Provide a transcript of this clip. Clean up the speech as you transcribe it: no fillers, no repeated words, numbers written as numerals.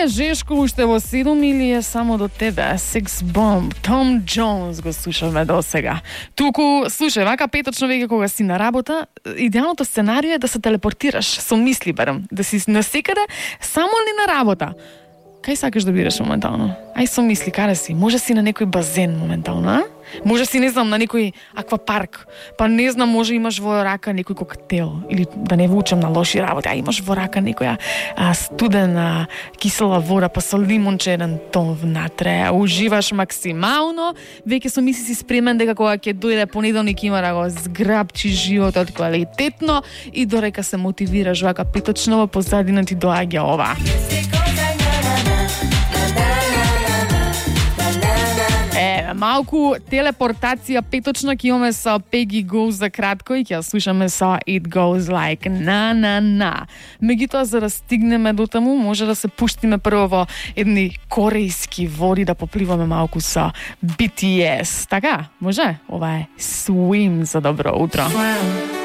Жешко уште во 7 или е само до тебе? Sex Bomb, Tom Jones го слушаме до сега. Туку, слушај, вака петочно веќе кога си на работа, идеалното сценарио е да се телепортираш со мисли барем, да си насекаде само ли на работа. Кај сакаш да бидеш моментално? Ај со мисли, каде си? Може си на некој базен моментално, а? Може си, не знам, на некој аквапарк. Па не знам, може имаш во рака некој коктел. Или да не вучам на лоши работи, а имаш во рака некоја студена кисела вода, па со лимонче еден тон внатре. Уживаш максимално. Веќе со мисли си спремен дека кога ќе дојде понеделник има да го зграбчи животот квалитетно и дорека се мотивираш вака петочно во позадина ти доаѓа ова. Малку телепортација петочна ќе имаме со Peggy Gou за кратко и ќе слушаме со It Goes Like Na Na Na. Меѓутоа, за да стигнеме до таму, може да се пуштиме прво во едни корејски води да попливаме малку со BTS. Така, може? Ова е Swim за добро утро.